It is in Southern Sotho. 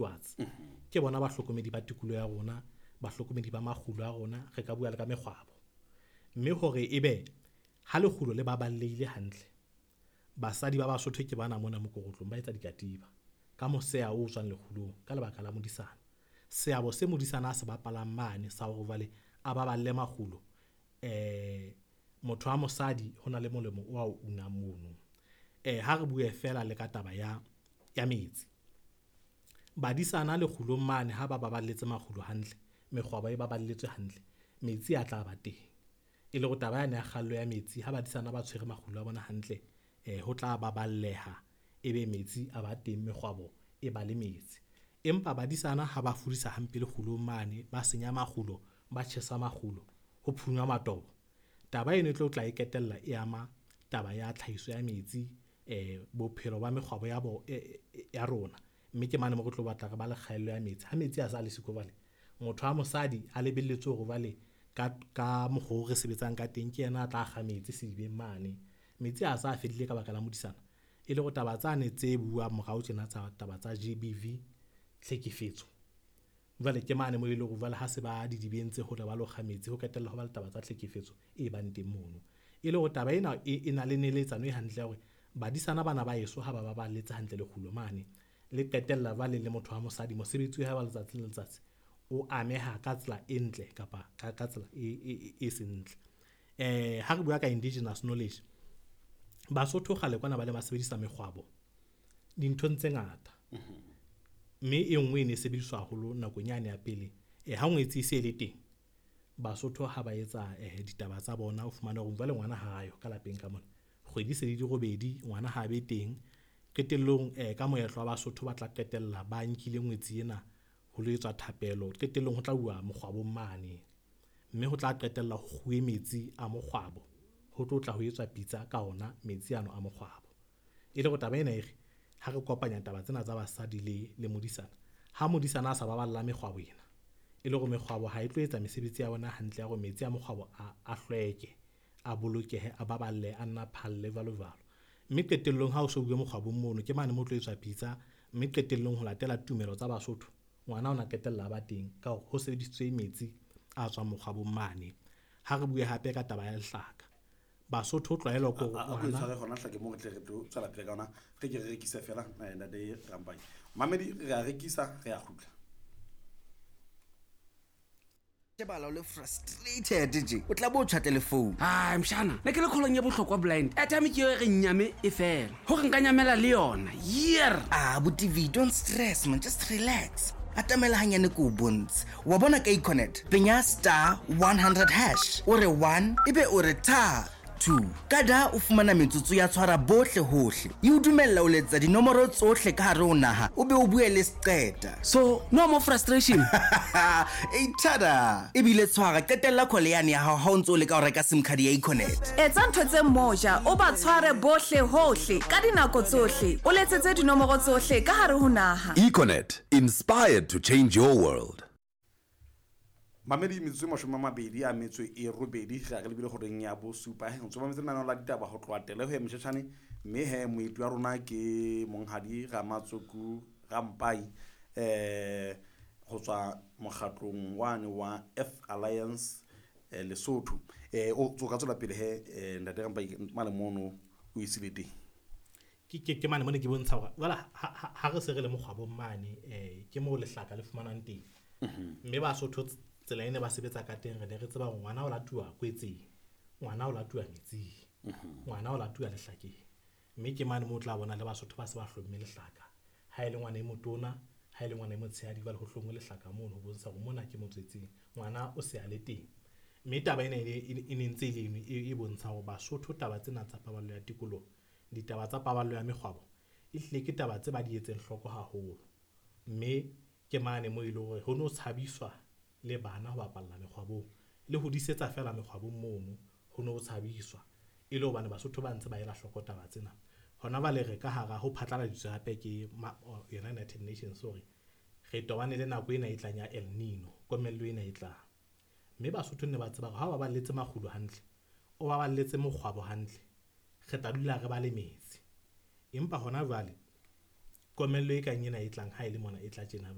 Stewards. Ke bona bahlokomedi ba tikoloho ya rona, bahlokomedi ba makgulo a rona, re ka bua le ka mekgwabo. Mme hore ebe ha lekgulo le baballehile hantle, basadi ba Basotho ke bana mona mokorotlong ba etsa dikatiba ka moseya o tswang lekgulong ka lebaka la modisana. Seabo se modisana a se bapalang mane sa hore jwale a baballe makgulo, motho wa mosadi hona le molemo o ao unang mono. Ha re bue feela le ka taba ya metsi. Badisana lekgulong mane ha ba baballetse makgulo hantle, mekgwabo e baballetswe hantle, metsi a tla ba teng. E le hore taba yane ya kgaello ya metsi ha badisana ba tshwere makgulo a bona hantle, ho tla baballeha ebe metsi a ba teng, mekgwabo e ba le metsi. Empa badisana ha ba fudisa hampe lekgulong mane, ba senya makgulo, ba tjhesa makgulo, ho phunywa matobo. Taba eno e tlo tla e ketella e ama taba ya tlhahiso ya metsi, bophelo ba mekgwabo ya ya rona. Mme ke mane moo re tlo batla re ba le kgaello ya metsi. Ha metsi a sa le siko jwale, motho wa mosadi a lebelletswe hore jwale ka mokgo re sebetsang ka teng, ke yena a tla kga metsi sedibeng mane. Metsi a sa fedile ka baka la modisana. E le hore taba tsane tse buang morao tjena tsa taba tsa GBV, tlhekefetso. Jwale ke mane moo eleng hore jwale ha se ba didibeng tse hole ba lo kga metsi, ho qetella ho ba le taba tsa tlhekefetso e bang teng mono. E le hore taba ena e na le neletsano e hantle ya hore badisana bana ba heso ha ba baballetse hantle lekgulo mane, le qetella jwale le motho wa mosadi mosebetsi wa hae wa letsatsi le letsatsi o ameha ka tsela e ntle kapa ka tsela e seng ntle. Ha re bua ka indigenous knowledge, Basotho kgale kwana ba ne ba sebedisa mekgwabo dinthong tse ngata. Mme e nngwe e ne e sebediswa haholo nakong yane ya pele. Ha ngwetsi e se e le teng, Basotho ha ba etsa ditaba tsa bona, o fumana hore jwale ngwana ha ayo ka lapeng ka mona. Kgwedi se di robedi, ngwana ha be teng. Qetellong ka moetlo wa Basotho ba tla qetella ba nkile ngwetsi ena ho lo etswa thapelo. Qetellong ho tla uwa mokgwabong mane, mme ho tla qetella ho kguwe metsi a mokgwabo, ho tlo tla ho etswa pitsa ka ona metsi ano a mokgwabo. E le hore taba ena e re ha re kopanya taba tsena tsa basadi le modisana, ha modisana a sa baballa mekgwabo ena, e le hore mekgwabo ha e tlo etsa mesebetsi ya bona hantle ya hore metsi a mokgwabo a hlweke, a bolokehe, a baballe, a nna phalle jwalo jwalo. Mme qetellong ha o so uwe mokgwabong mono, ke mane moo tlo etswa pitsa, mme qetellong ho latela tumelo tsa Basotho, ngwana ona qetella a ba teng ka hore ho sebedisitswe metsi a tswang mokgwabong mane. Ha re bue hape ka taba ya lehlaka. Basotho tlwaelo ke hore A ko tshware hona hlake moo re tle re tlo tswela pele ka hona, re ke re rekise fela ntate Rampai. Mamedi re a rekisa, re a kgutla. Shebala o le frustrated je o tla bo o tjhatle le phone. Ai mshana, ne ke le kgolong ya bohlokwa blind. Airtime ke eo e re nyame e fela. Hore nka nyamela le yona. Year. Ah, bo TV, don't stress man, just relax. Atamela hanyane ko o bontshe. Wa bona ka Econet, penya star 100 hash. O re 1 ebe o re tha 2. Ka da o fumana metsotso ya tshwara bohle hohle. E o dumella o letsa dinomoro tsohle ka hare ho naha, o be o bue le seqeta. So, no more frustration. E tada. Ebile tshwara, qetella call yane ya hao ha o ntso o leka ho reka SIM card ya Econet. Etsa ntho tse moja, o ba tshware bohle hohle ka dinako tsohle. O letsetse dinomoro tsohle ka hare ho naha. Econet, inspired to change your world. Mamedi metsotso e 28 re a re lebile horeng ya bosupa. Ntse mametse lenaneo la ditaba ho tloha tele ho ya Moshetjhane, mme he moeti wa rona ke Monghadi Ramatsoku Rampai, ho tswa mokgatlong wane wa Earth Alliance Lesotho. O ka tswela pele he ntate Rampai mane mono o isile teng. Ke mane mona ke bontsha hore jwale ha re se re le mokgwabong mane, ke moo lehlaka le fumanwang teng. Mme Basotho tsela e ne ba sebetsa ka teng, re ne re tseba hore ngwana o latuwa kwetseng, ngwana o latuwa metsing, ngwana o latuwa lehlakeng. Mme ke mane moo o tla bona le Basotho ba se ba hlomme lehlaka. Ha e le ngwana e motona, ha e le ngwana e motshehadi, jwale ho hlongwe lehlaka mono ho bontsha hore mona ke motswetseng, ngwana o se a le teng. Mme taba ena e ne ntse e le eno e bontsha hore Basotho taba tsena tsa paballo ya tikoloho, ditaba tsa paballo ya mekgwabo, e hlile ke taba tse ba di etseng hloko haholo. Mme ke mane moo e leng hore ho no tshabiswa le bana ho bapalla mekgwabong, le ho disetsa fela mekgwabong mono, ho no tshabiswa. E le hobane Basotho ba ntse ba ela hloko taba tsena. Hona jwale re ka hara ho phatlaladitswe hape ke yona United Nations hore re tobane le nako ena e tlang ya El Nino, komello ena e tlang. Mme Basotho ne ba tseba hore ha o baballetse makgulo hantle, o baballetse mokgwabo hantle, re tla dula re ba le metsi. Empa hona jwale komello e kang ena e tlang ha e le mona e tla tjena.